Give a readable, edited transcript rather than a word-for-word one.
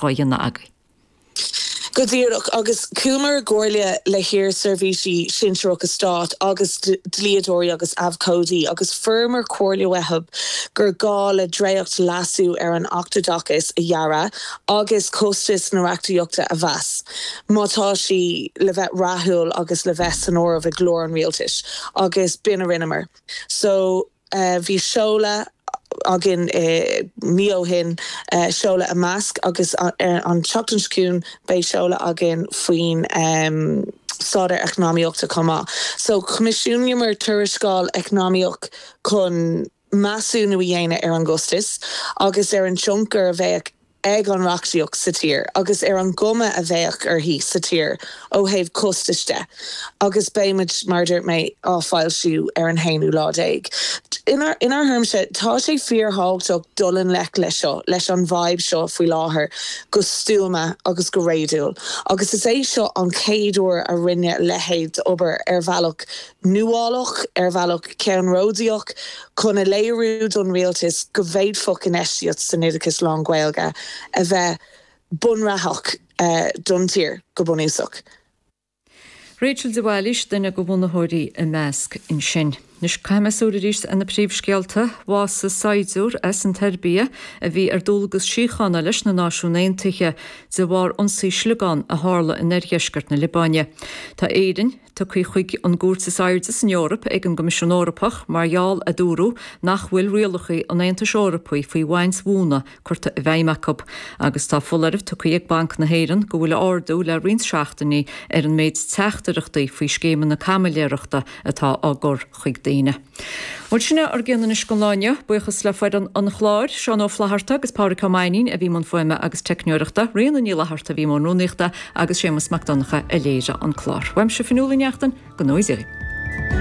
dhá dhéanamh agaibh. Go díreach, agus chuamar i gcomhairle le hiar-seirbhísigh sinsearacha stáit agus dlíodóirí agus abhcóidí agus fuaireamar comhairle uathu gur gá le dréacht leasú ar an Acht Oideachais a dhearadh agus costas na reachtaíochta a mheas má tá sí le bheith rathúil agus le bheith san áireamh i gclár an rialtais agus b'in a rinneamar. So. Bhí seoladh againn mí ó shin, seoladh Imeasc agus an tseachtain seo chugainn beidh seoladh againn faoin staidéar eacnamaíochta chomh maith. So choimisiúnaíomar tuarascáil eacnamaíoch chun measúnú a dhéanamh ar an gcostas agus ar an tionchar a bheadh ag an reachtaíocht sa tír agus ar an gcuma a bheadh uirthi sa tír ó thaobh costais de agus beidh muid, mar a dúirt mé, á foilsiú ar an haonú lá déag. Inár thuairimse, tá sé fíorthábhachtach dul i ngleic leis seo, leis an bhfadhb seo faoi láthair, go stuama agus go réadúil agus is é seo an chéad uair a rinneadh a leithéid d'obair ar bhealach nuálach, ar bhealach ceannródaíoch, chun a léiriú don rialtas go bhféadfadh infheistíocht san oideachas lán-Ghaeilge a bheith bunreathach don tír, go bunúsach. Rachel de Bhailís, duine de bhunaitheoirí Imeasc ansin. Anois, caithfidh mé súil arís ar na príomhscéalta. Bhásaigh saighdiúir as an tSeirbia a bhí ar dualgas síochána leis na Náisiúin Aontaithe de bharr ionsaí sliogán a tharla in oirdheisceart na Liobáine. Tá Éirinn tugtha chuig an gcúirt is airde san Eoraip ag an gCoimisiún Eorpach mar gheall, a dúradh, nach bhfuil rialacha an Aontais Eorpaigh faoi bhaint mhóna curtha i bhfeidhm acu. Agus tá foláireamh tugtha ag Banc na hÉireann go bhfuil ardú le roinnt seachtainí ar an méid teachtaireachtaí faoi scéimeanna caimiléireachta atá á gcur chuig daoine. Bhuel, sin é ár gcion anois don lá inniu. Buíochas le foireann an chláir, Seán Ó Flatharta agus Pádhraic Ó Mainnín a bhí i mbun fuaime agus teicneoireachta, Ríona Ní Fhlatharta a bhí i mbun rúnaíochta agus Séamus Mac Donncha a léirigh an clár. Uaimse Fionnuala Ní Neachtain, go ngnóthaí Dia dhaoibh.